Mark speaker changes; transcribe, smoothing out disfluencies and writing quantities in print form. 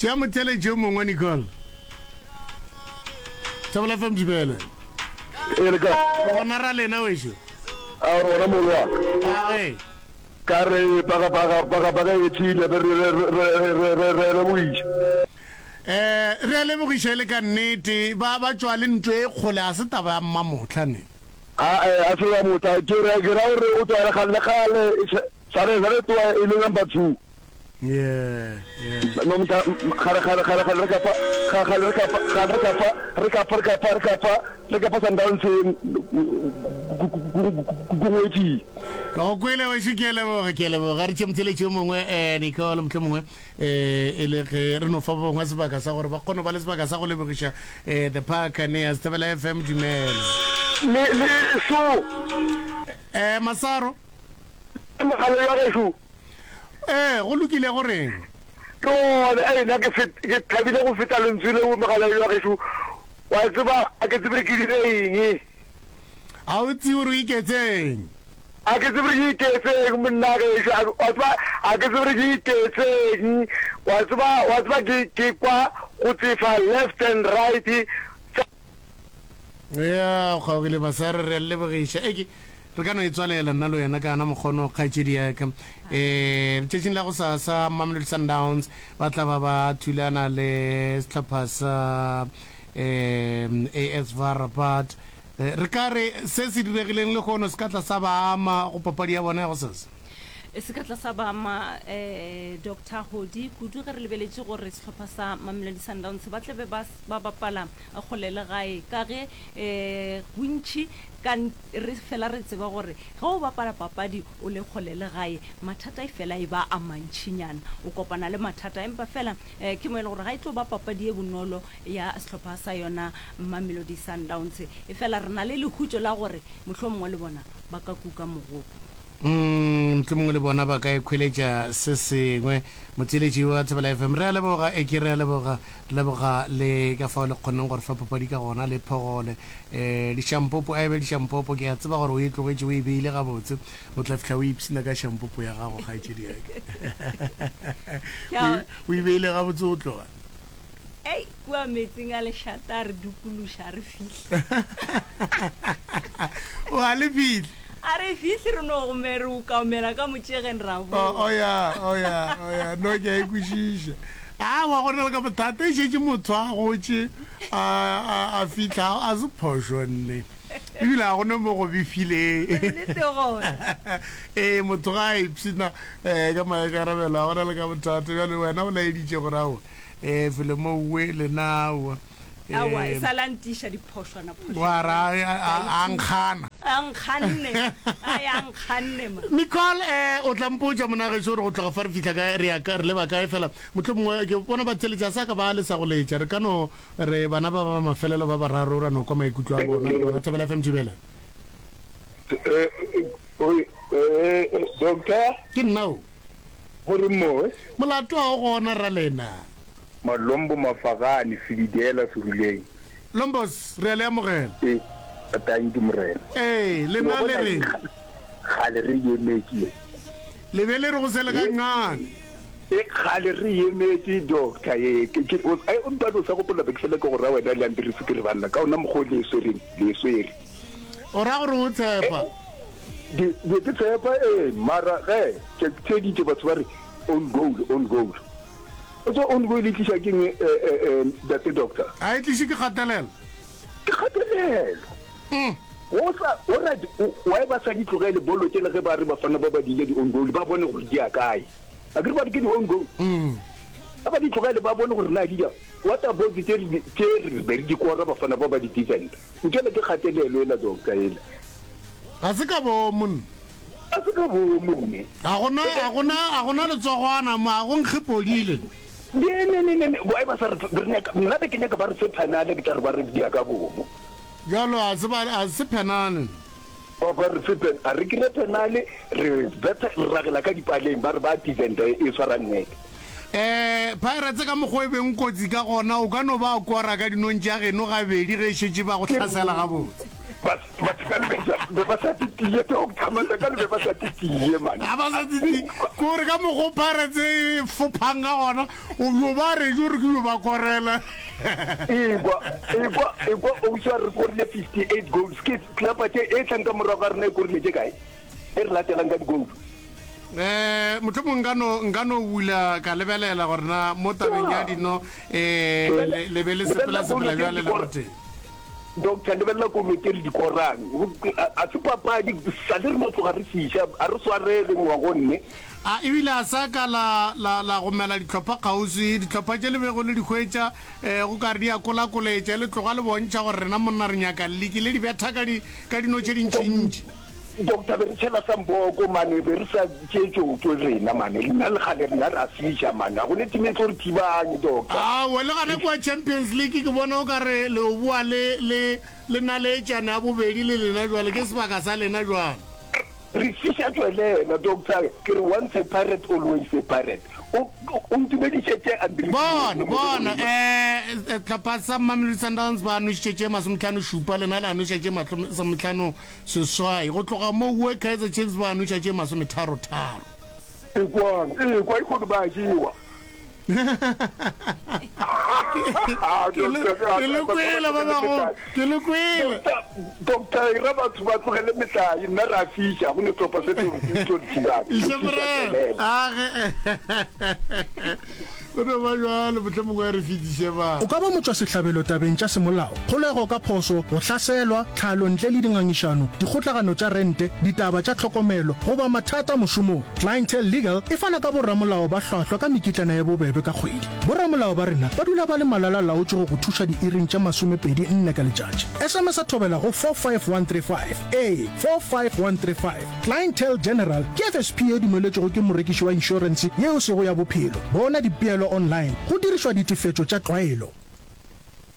Speaker 1: Tšea motheeletši yo mongwe, Nicole. Thobela FM Dumela.
Speaker 2: Ee, le kae?
Speaker 1: Gona ra lena wešo.
Speaker 2: A re gona molo wa ka.
Speaker 1: A ge.
Speaker 2: Ka re paka paka paka paka e thile be re re re re re re lebogiša.
Speaker 1: Eh, re a lebogiša e le ka nnete. Ba ba tšwa le ntlo e kgole a se taba ya mmamohla ne.
Speaker 2: A eh a se ya motla ke re ke ra gore o tšwa le kgale le kgale sa re sa re tloa e le number 2.
Speaker 1: Yeah, yeah.
Speaker 2: No motla gare gare gare gare re ka fa ga gare re ka fa gare re ka fa re ka fa re ka fa re ka fa re ka fa Sundowns kungwetši.
Speaker 1: Ka go kwele wešo ke a leboga ke a leboga re tšee motheletši yo mongwe um Nicole mohlomongwe um e le ge re no fa ba bangwe sebaka sa gore ba kgone go ba le sebaka sa go lebogiša um the Buccaneers Thobela FM dumela.
Speaker 2: Le le so.
Speaker 1: Um Masaro.
Speaker 2: Mogala wa gešo.
Speaker 1: Ee, go lokile go reng?
Speaker 2: Ke gona, ei, nna ke fet, ke thabile go feta lentswe leo, mogala wa gešo. Wa tseba, a ke tsebe ke dire eng.
Speaker 1: A o tsebe gore o iketseng?
Speaker 2: A ke tsebe gore ke iketseng, monna gešo. A, wa tseba, a ke tsebe gore ke iketseng. Wa tseba, wa tseba ke, ke kwa go tsefa left and right.
Speaker 1: Ya, o kgaogile Masare, re a le lebogiša. Eke, re ka no e tswalela nna le wena ka ana mokgono, kgaetšedi ya ka. Eh, letšatšing la go sasa Mamelodi Sundowns ba tla ba ba thulana le sehlopha sa eh, AS VAR Rabat. Eh, re ka re se se diregileng lehono se ka tla sa ba ama go papadi ya bona ya go sasa?
Speaker 3: Se ka tla sa ba ama eh, Doctor Hodi kudu ge re lebeletše gore sehlopha sa Mamelodi Sundowns ba tla be ba, ba bapala kgole le gae ka ge bontši ka re fela re tseba gore ge o bapala papadi o le kgole le gae mathata e fela e ba a mantšinyana, o kopana le mathata empa fela ke mo e le gore ga e tlo ba papadi e bonolo ya sehlopha sa yona Mamelodi Sundowns e fela re na le lehutšo la gore mohlomongwe le bona ba ka kuka mogopo.
Speaker 1: Mohlomongwe le bona ba ka ikhweletša se sengwe. Motheeletši wa Thobela FM, re a leboga, eke re a leboga. Re leboga le ka fao le kgonneng go re fa papadi ka gona, le phogole. Um dišampopo, a e be dišampopo, ke a tseba gore o e tlogetše o e beile gabotse. O tla fihla o ipshina ka šampopo ya gago, kgaetšedi ya ka. O e beile gabotse o tloga.
Speaker 3: Ei, kua meetseng a lešata a re dukološa, a re fihle.
Speaker 1: O a le fihle?
Speaker 3: A re fihle, re no gome re ukamela ka motšegeng ra boa.
Speaker 1: O, o ya, o ya, o ya, no ke a e kwešiša. Aowa, go na le ka bothata, e šetše motho a gotše, a, a, a fihla, a se phošo nne. Ebile ga go ne mo go befileng.
Speaker 3: Nnete gona.
Speaker 1: Ee, motho ga a ipshina um ka maikarabelo, ga go na le ka bothata. Bjale wena o laeditše gore aowa, Ee, felo mo uwe lena aowa.
Speaker 3: Aowa, e sa la ntiša diphošwana phošwana.
Speaker 1: Wa ra a nkgana.
Speaker 3: A nkganne, a ya nkganne ma.
Speaker 1: Nicole, eh, o tla mpotša monagešo gore go tloga fa re fihla kae, re ya ka, re leba kae, fela mohlomongwe ke bona ba theletša sa ka ba lesa go letša. Re ka no re bana ba ba mafelelo ba bararo ra no kwa maikutlo a bona le bona. Thobela FM Thibela.
Speaker 2: Eh, eh, eh, doctor?
Speaker 1: Ke nna o.
Speaker 2: Go reng mo?
Speaker 1: Molato ga o gona ralena.
Speaker 2: Malombo Mafagane, Sebidela, Seruleng.
Speaker 1: Lombos, re a le amogela.
Speaker 2: Ee, tanki morena.
Speaker 1: Ee, lena le reng?
Speaker 2: Kgale re emetše ye.
Speaker 1: Le be le re go sele ga nqane.
Speaker 2: E kgale re emetše doctor ye. Ke ke o ai o mpane o sa gopola be ke fela ke go ra wena le Andries ke re banna ka ona mokgwa o le e swereng le e swere.
Speaker 1: O ra gore o tshepa?
Speaker 2: Ke be ke tshepa ee, mara ge ke theeditše batho ba re own goal, own goal. O tseba own goal e tliša ke eng Ntate Doctor?
Speaker 1: Ga e tliše ke kgatelelo.
Speaker 2: Ke kgatelelo. Go sa, o ra, why ba sa di tlogele bolo tšela ge ba re bafana ba ba diile di own goal, ba bone gore di ya kae. Akere ba re ke di own goal. A ba di tlogele ba bone gore na di ya. What about tše re tše re be re di kora bafana ba ba di defender? Nkele ke kgatelelo ela doctor ela.
Speaker 1: Ga se ka boomo nne.
Speaker 2: Ga se ka boomo nne.
Speaker 1: Ga gona, ga gona, ga gona letsogwana mo, ga go nkge podile.
Speaker 2: Ne, ne, ne, ne, ne, why ba sa re, re nyaka, nna be ke nyaka ba re fe phenale, ke tla re ba re dia ka boomo.
Speaker 1: Bjalo ga se ba, ga se phenale.
Speaker 2: Ba, ba re fe pen, a re kry phenale, re betha, re ragela ka dipaleng, ba re ba defender e swara nnete.
Speaker 1: Eh, Pirates ka mokgwa e beng kotsi ka gona, o ka no ba kora ka dinong tša geno gabedi ge e šetše ba go hlasela gabotse.
Speaker 2: Ba, ba Be ba sa titie, doctor, Matlakane be ba sa titie, man.
Speaker 1: Ga ba sa titie. Ke gore ka mokgwa o Pirates e fophang ka gona, o yo ba rejo gore ke yo ba korela.
Speaker 2: Ekwa, ekwa, ekwa, Ousa re korile 58 goals. Ke klapa tše e tlang ka morago ga rena e korile tše kae? E re latelang ka di-goal.
Speaker 1: Eh, mohlomong nka no nka no bula ka lebelela gore na mo tabeng ya dino eh le le be le sepela sepela bjale le gotee.
Speaker 2: Doctor, lebelela kolo tše re di korang. A se papadi, sa le re no tloga re fiša, a re swarege ngwagonne.
Speaker 1: A ebile a sa ka la, la, la gomela dihlopha kgauswi, dihlopha tše le bego le di hwetša, eh, go ka re di a kolakoletša, le tloga le bontšha gore rena monna re nyaka liki, le di betha ka di, ka dino tše dintšintši.
Speaker 2: Doctor, be re tšhela samboko mane, be re sa tšee tšotšo rena mane, rena le kgale rena re a fiša mane, ga go ne team e tlo re thibang, Doctor.
Speaker 1: Aowa, le gana kua Champions League ke bona o ka re le o boa le, le, le naletšana ya bobedi le lena jwale, ke sebaka sa lena jwale.
Speaker 2: Re fiša tšwelela, Doctor, ke re once a pirate always a pirate. O, o ntumedišetše Andries.
Speaker 1: Bona, bona, eh, sehlopha sa Mamelodi Sundowns ba nošitše tše masometlhano-šupa, lena la noša tše masometlhano Seswai. Go tloga moo we Kaizer Chiefs ba nwetša tše masometharotharo.
Speaker 2: Ekwang, ekwa, e kgone ba jewa.
Speaker 1: Ke le kwele ba bagolo, ke le kwele.
Speaker 2: Doctor, e ra batho ba tlogele metlae, nna re a fiša, go ne sehlopha se tlo re thibang.
Speaker 1: Iše morena, age. Go no ba bjalo, mohlomongwe a re fetiše ba.
Speaker 4: O ka ba motšwasehlabelo tabeng tša semolao, kgolego ka phošo, go hlaselwa, tlhalo ntle le dingangišano, dikgotlagano tša rente, ditaba tša tlhokomelo, goba mathata mošomong. Clientele Legal e fana ka boramolao ba hlwahlwa ka mekitlana ye bobebe ka kgwedi. Boramolao ba rena ba dula ba le malala-laotšwe go go thuša diiring tše 24 ka letšatši. SMS-a thobela go 45135. Ee, 45135. Clientele General ke FSP ye dumeletšwego ke morekiši wa inšorense ye e sego ya bophelo. Bona dipeelo online go dirišwa ditefetšo tša tlwaelo.